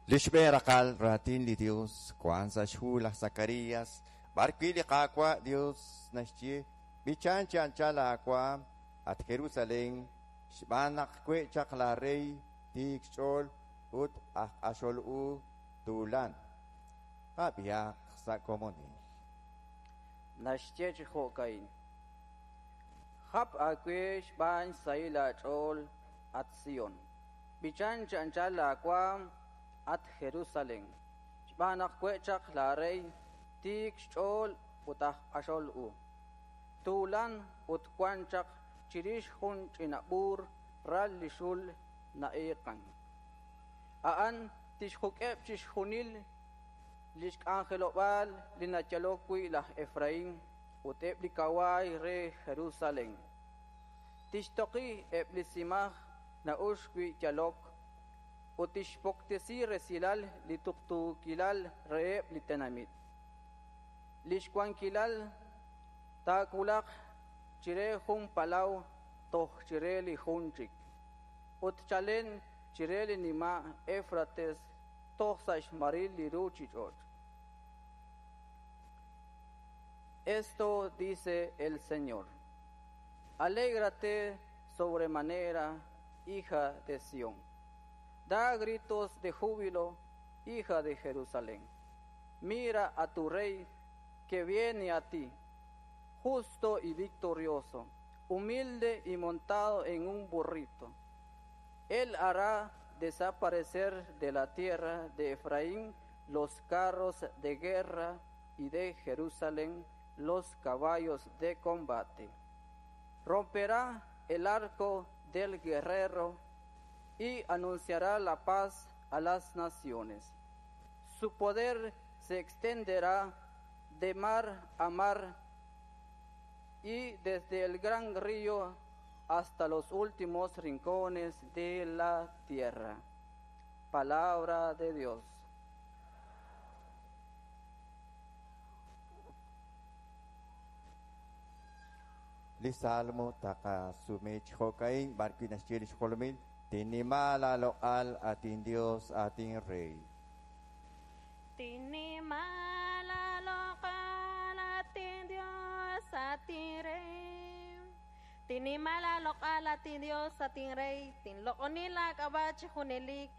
Li xb'een raqal raatin li Dios wan sa' xhu laj Zacarías, b'ar wi' li Qaawa' Dios naxye, B'ichan chi anchal aawaam, at Jerusalén, xb'aan naq we' chaq laa rey tiik xch'ool ut aj q'axol u tuulan. Qab'ihaq sa' komonil. Naxye chi jo'ka'in: Jap aawe xb'aan xsahil aach'ool, at Sión. B'ichan chi anchal laawaanm, at Jerusalén, xb'aan naq we' chaq laarey tiik xch'ool ut aj q'axol u. Tuulan ut wan chaq chirix jun ch'ina b'uur ral li xul na'iiqank. A'an tixjuk'eb' chixjunil li xk'anjelob'aal li nayalok wi' laj Efraín ut eb' li kawaay re Jerusalén. Tixtoqi eb' li simaj na'uxk wi' yalok ut tixpuktesi resilal li tuqtuukilal reheb' li tenamit. Li xwankilal taawulaq chire jun palaw toj chire li jun chik, ut chalen chire li nima' Éwfrates toj sa' xmaril li ruuchich'och'. Esto dice el Señor: Alégrate sobremanera, hija de Sión. Da gritos de júbilo, hija de Jerusalén. Mira a tu rey que viene a ti, justo y victorioso, humilde y montado en un burrito. Él hará desaparecer de la tierra de Efraín los carros de guerra y de Jerusalén los caballos de combate. Romperá el arco del guerrero y anunciará la paz a las naciones. Su poder se extenderá de mar a mar y desde el gran río hasta los últimos rincones de la tierra. Palabra de Dios. Li Salmo taqasume chi jo'ka'in b'ar wi' naxye li xjolomil, Tinnima laaloq'al, at inDios, at inRey. Tinnima laaloq'al, at inDios, at inRey. Tinnima laaloq'al, at inDios, at inRey. Tinloq'oni laak'ab'a' chi junelik.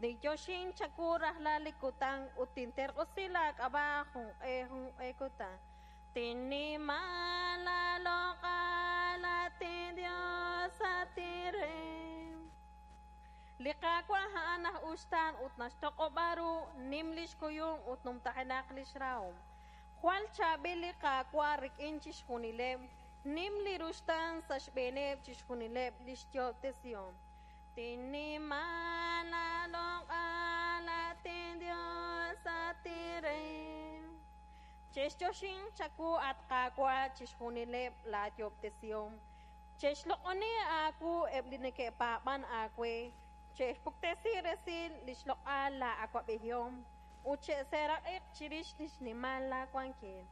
Ninyoxin chawu rajlal li kutan ut tinterq'usi laak'ab'a' junq'e junq'e kutan. Tinnima laaloq'al, at inDios, at inRey. Li Qaawa' a'an aj uxtaan ut naxtoq'ob'a ru, nim li xkuyum ut numtajenaq li xrahom. Jwal chaab'il li Qaawa' rik'in chixjunileb', nim li ruxtaan sa' xb'eeneb' chixjunileb' li xyoob'tesihom. Tinnima laaloq'al, at inDios, at inRey. Che'xyoxinq chawu, at Qaawa', chixjunileb' laayoob'tesihom. Che'xloq'oni aawu eb' li neke'paab'ank aawe, che'xpuktesi resil li xloq'al laa'awab'ejihom ut che'seeraq'iq chirix li xnimal laawankil.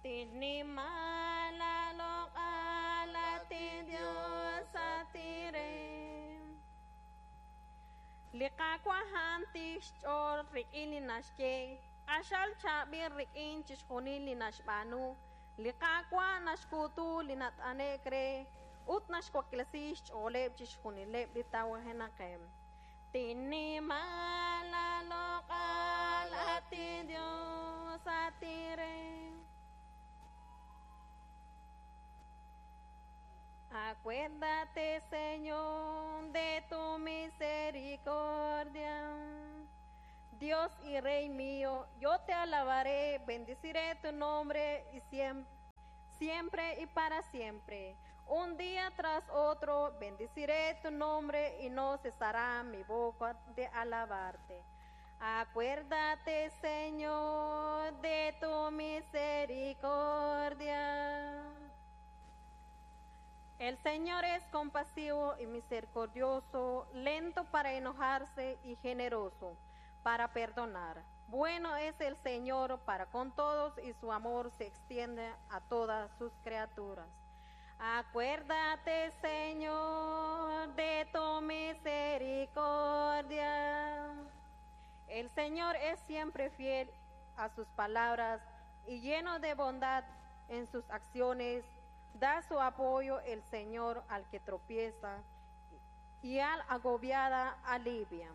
Tinnima laaloq'al, at inDios, at inRey. Li Qaawa' a'an tiik xch'ool rik'in li naxye, q'axal chaab'il rik'in chixjunil li naxb'aanu. Li Qaawa' naxkuutu li nat'ane'k re ut naxwaklesi xch'ooleb' chixjunileb' li tawajenaqeb'. Tinnima laaloq'al, at inDios, at inRey. Acuérdate, Señor, de tu misericordia. Dios y Rey mío, yo te alabaré, bendeciré tu nombre y siempre, siempre y para siempre. Un día tras otro bendeciré tu nombre y no cesará mi boca de alabarte. Acuérdate, Señor, de tu misericordia. El Señor es compasivo y misericordioso, lento para enojarse y generoso para perdonar. Bueno es el Señor para con todos y su amor se extiende a todas sus criaturas. Acuérdate, Señor, de tu misericordia. El Señor es siempre fiel a sus palabras y lleno de bondad en sus acciones. Da su apoyo el Señor al que tropieza y al agobiada alivia.